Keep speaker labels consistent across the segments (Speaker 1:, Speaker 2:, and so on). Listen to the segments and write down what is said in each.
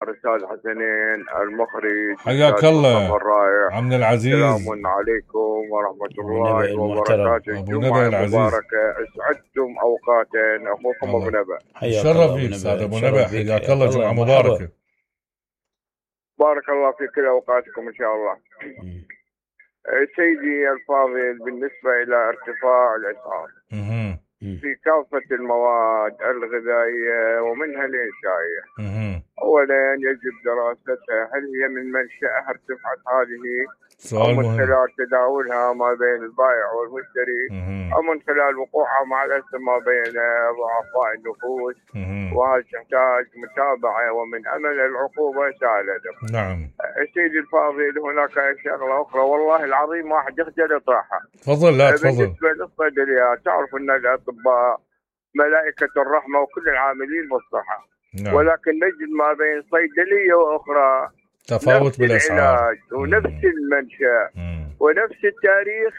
Speaker 1: الأستاذ حسنين المخرج
Speaker 2: حياك الله
Speaker 1: الرائع.
Speaker 2: عمنا العزيز.
Speaker 1: سلام عليكم ورحمة الله وبركاته.
Speaker 2: أبو نبأ العزيز
Speaker 1: مباركة، أسعدتم أوقاتا. أخوكم أبو نبأ.
Speaker 2: شرف فيك سادة أبو نبأ، حياك الله، جمعة مباركة.
Speaker 1: بارك الله في كل أوقاتكم إن شاء الله. سيدي الفاضل، بالنسبة إلى ارتفاع الأسعار في كافة المواد الغذائية ومنها الإنشائية، أولا يجب دراستها. هل هي من منشأها ارتفعت هذه أو من خلال تداولها ما بين البائع والمشتري أو من خلال وقوعها مع الأسف ما بين ضعفاء النفوس، وهل تحتاج متابعة ومن أمل العقوبة سالة.
Speaker 2: نعم
Speaker 1: سيدي الفاضل، هناك شغلة أخرى والله العظيم ما حد يخجل يطرحها.
Speaker 2: تفضل. لا تفضل.
Speaker 1: بالنسبة للصيدليات، تعرف أن الأطباء ملائكة الرحمة وكل العاملين بالصحة. نعم. ولكن نجد ما بين صيدلية وأخرى
Speaker 2: تفاوت بالأسعار
Speaker 1: ونفس المنشأ ونفس التاريخ،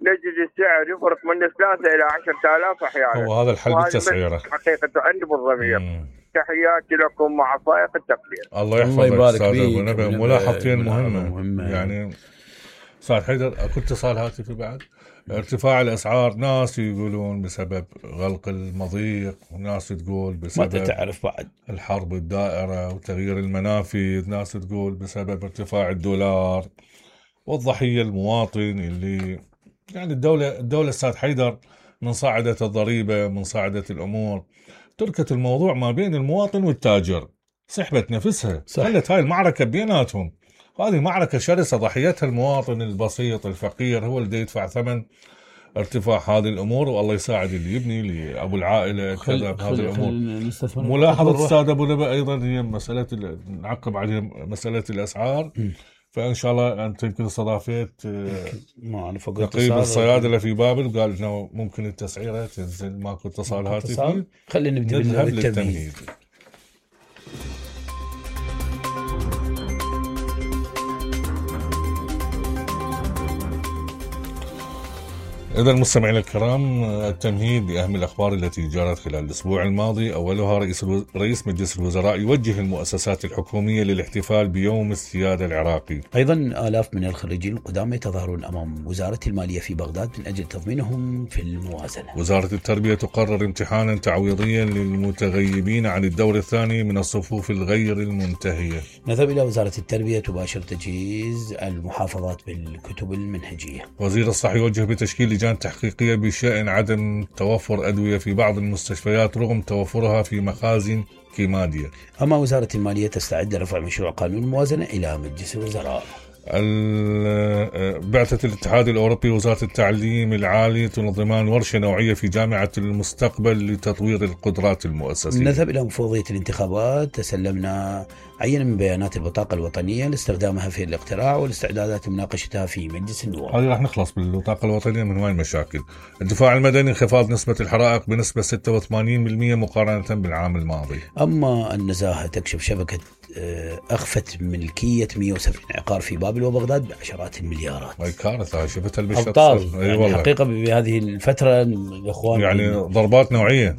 Speaker 1: نجد السعر يفرق من 3 إلى 10,000 أحيانا.
Speaker 2: هو هذا الحل بالتسعيرة
Speaker 1: حقيقة عندي بالضمير. تحياتي لكم مع فائق التقدير.
Speaker 2: الله يحفظك أستاذ أبو نبأ. ملاحظتين مهمة يعني أستاذ حيدر. أكو اتصال هاتفي بعد. ارتفاع الأسعار، ناس يقولون بسبب غلق المضيق، وناس تقول بسبب
Speaker 3: ما تعرف بعد
Speaker 2: الحرب الدائرة وتغيير المنافذ، ناس تقول بسبب ارتفاع الدولار، والضحية المواطن اللي يعني الدولة أستاذ حيدر من صاعدة الضريبة، من صاعدة الأمور، تركت الموضوع ما بين المواطن والتاجر، سحبت نفسها، خلت هاي المعركة بيناتهم. هذه معركة شرسة ضحيتها المواطن البسيط الفقير، هو اللي يدفع ثمن ارتفاع هذه الأمور. والله يساعد اللي يبني، لأبو العائلة كذا بهذه الأمور. ملاحظة أستاذ أبو نبأ أيضا هي مسألة نعقب عليها مسألة الأسعار. فإن شاء الله أنت يمكن استضافيت نقيب الصيادلة في بابل، قال إنه ممكن التسعيرة تنزل. ماكو اتصال هاتفي.
Speaker 3: خلينا نبدأ بالتمهيد.
Speaker 2: إذا المستمعين الكرام، التمهيد بأهم الأخبار التي جرت خلال الأسبوع الماضي. أولها رئيس مجلس الوزراء يوجه المؤسسات الحكومية للاحتفال بيوم السيادة العراقي.
Speaker 3: أيضا آلاف من الخريجين القدامى يتظاهرون أمام وزارة المالية في بغداد من أجل تضمينهم في الموازنة.
Speaker 2: وزارة التربية تقرر امتحانا تعويضيا للمتغيبين عن الدور الثاني من الصفوف الغير المنتهية.
Speaker 3: نذهب إلى وزارة التربية تباشر تجهيز المحافظات بالكتب المنهجية.
Speaker 2: وزير الصحة يوجه بتشكيل لجان تحقيقية بشأن عدم توفر أدوية في بعض المستشفيات رغم توفرها في مخازن كيمادية.
Speaker 3: أما وزارة المالية تستعد لرفع مشروع قانون الموازنة إلى مجلس الوزراء.
Speaker 2: بعثة الاتحاد الأوروبي وزارة التعليم العالي تنظمان ورشة نوعية في جامعة المستقبل لتطوير القدرات المؤسسية.
Speaker 3: نذهب إلى مفوضية الانتخابات. تسلمنا عينة من بيانات البطاقة الوطنية لاستخدامها في الاقتراع والاستعدادات لمناقشتها في مجلس النواب.
Speaker 2: هذه راح نخلص بالبطاقة الوطنية من هاي المشاكل. الدفاع المدني انخفاض نسبة الحرائق بنسبة 86% مقارنة بالعام الماضي.
Speaker 3: أما النزاهة تكشف شبكة أخفت ملكية 170 عقار في بابل وبغداد بعشرات المليارات.
Speaker 2: هاي كارثة شفتها بالشخص.
Speaker 3: أبطال يعني الحقيقة بهذه الفترة الإخوان
Speaker 2: يعني ضربات نوعية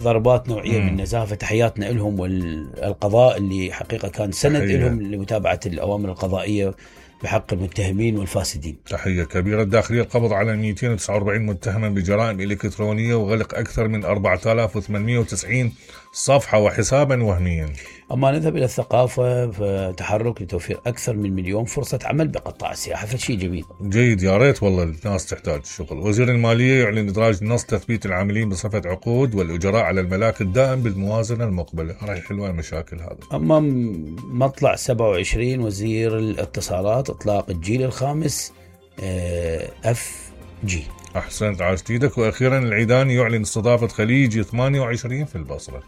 Speaker 3: بالنزاهة. فتحياتنا لهم والقضاء اللي حقيقة كان سند لهم لمتابعة الأوامر القضائية بحق المتهمين والفاسدين.
Speaker 2: تحية كبيرة. الداخلية القبض على 249 متهما بجرائم إلكترونية وغلق أكثر من 4890 صفحة وحسابا وهميا.
Speaker 3: أما نذهب إلى الثقافة، فتحرك لتوفير أكثر من 1,000,000 فرصة عمل بقطاع السياحة، فشي جميل
Speaker 2: جيد. يا ريت والله الناس تحتاج الشغل. وزير المالية يعلن إدراج نص تثبيت العاملين بصفة عقود والإجراء على الملاك الدائم بالموازنة المقبلة. راح يحلوا المشاكل هذا.
Speaker 3: أما مطلع 27 وزير الاتصالات إطلاق الجيل الخامس FG.
Speaker 2: أحسنت، عاشت ايدك. وأخيرا العيداني يعلن استضافة خليجي 28 في البصرة.